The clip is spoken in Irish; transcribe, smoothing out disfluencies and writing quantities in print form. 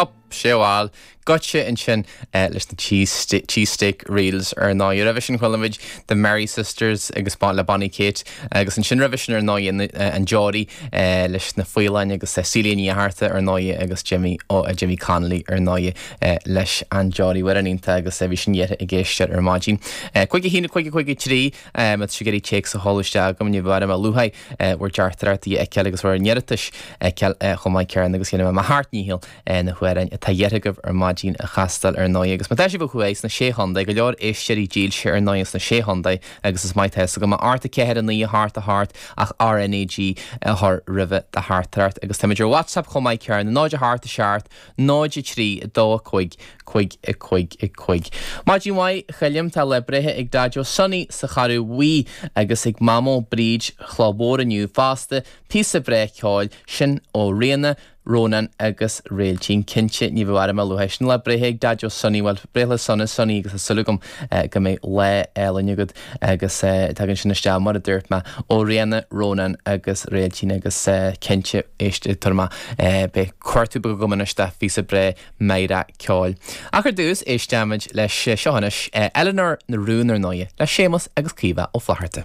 Up, sé bhal, goitse ansin leis na Cheesesteak Reels ar ndóigh. Roimhe sin chuala muid The Merry Sisters agus le Bonnie Kate agus ansin roimhe sin ar ndóigh an Geordie leis na Faoileáin agus Celia Ní Fhatharta ar ndóigh agus Jimmy Jimmy Connolly ar ndóigh leis an Geordie. Amhrán iontach agus bhí sin iarrtha ag éisteoir ar maidin. 5 1 5 5 3 Má tá sibh ag iarraidh téacs a sheoladh isteach chugam ní bheidh orm a luaithe bhur dteachtaireachtaí a fheiceáil agus bhur n-iarratais a fheiceáil chomh maith céanna agus dhéanfaidh mé mo sheacht ndícheall na hamhráin atá iarrtha agaibh ar maidin a chastáil ar ndóigh. Agus má tá sibh ó thuaidh sna Sé Chontae, go leor éisteoirí dílse ar ndóigh sna Sé Chontae agus is maith tá fhios agam, 8 4 9 8 8 ach RnaG a chur roimhe do theachtaireacht. Agus táimid ar WhatsApp chomh maith céanna, 0 8 7 0 3 2 5 5 5 5. Maidin mhaith, a Choilm, tá lá breithe ag Daideo Sonny sa Charraig Bhuí agus ag Mamó Bríd Chloch Mhór inniu fosta, píosa breá ceoil, sin ó Ríona, Rónán agus Réiltín. Cinnte, ní bheadh orm a lua. Sin lá breithe ag Daideo Sonny, bhuel, breithlá sona Sonny agus tá súil agam go mbeidh lá álainn agat agus tagann sin isteach, mar a dúirt mé, ó Ríona, Rónán agus Réiltín agus cinnte, éist, tabharfaidh mé, beidh cuartú beag agam anois do phíosa breá meidhreach ceoil. Ach ar dtús, éisteimid leis seo anois, Eleanor na Rún ar ndóighe, le Séamus agus Caoimhe Ó Flatharta.